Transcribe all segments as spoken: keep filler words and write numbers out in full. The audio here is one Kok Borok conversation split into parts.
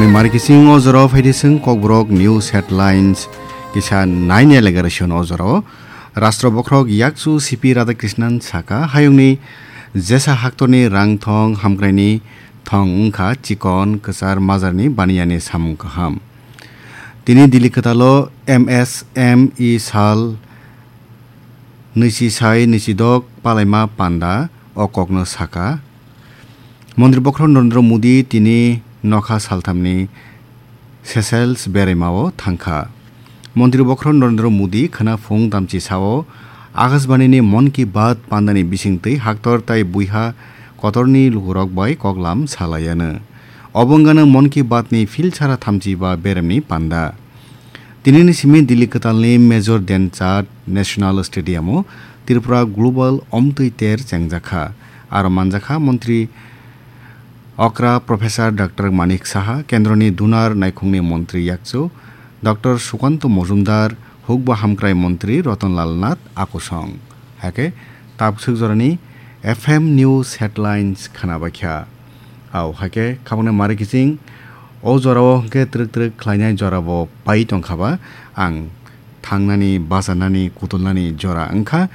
Mari kising o jora phaidi sing Kokborok News Headlines kisa naine legaration o jora o. Rastro bokhorok yakchu C P Radhakrishnan saka hayungni jesa haktorni rang thong hamkraini thong wngkha chikon kwchar majarni baniyani samung kaham. Tini Delhi kwtalo M S M E sal nwichi sai nwichi dok palaima panda o kokno saka. Montri bokhorok Narendra Modi tini nokha salthamni Seychelles beraimao thangkha. Montri bokhorok Narendra Modi khwna phung damchi sao Akashbanini Mon Ki Baat pandani bisingtwi haktor tai buiha kotorni lukurok bai koklam salaiano. Obo wngano Mon Ki Baatni philsara thamchi ba beremni panda. Tinini simi Delhi kwtalni Major Dhyan Chand National Stadium-o Tripura Global Omtwi Ter chengjakha. Aro manjakha Montri Okra Professor Doctor Manik Saha, Kendroni Dunar Naikhungni Montri Yakchu Doctor Sukanto Mojumdar, Hukba Hamkrai Montri Rotonlal Nath Akusong. Hake tabswk jorani F M News Headlines khwnabaikha. Au hake khabangni mari kiching o jorao hwnkhe twrwk twrwk khlainai jorabo pai tongkhaba ang thangnani, bachanani, kutulnani jora wngkha.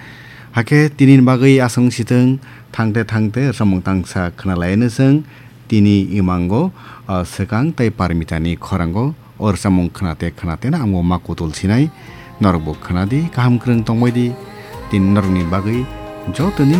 Hakhe tinini bagwi aswng sitwng thangte thangte samung tangsa khwnalaino chwng tini imango, ah, swkang tei parmitani khorango o rwchapmung khwnate khwnateno ang bo ma kutul sinai. Norokbo khwnadi, kaham kwrwng tongbaidi. Tini norokni bagwi jotoni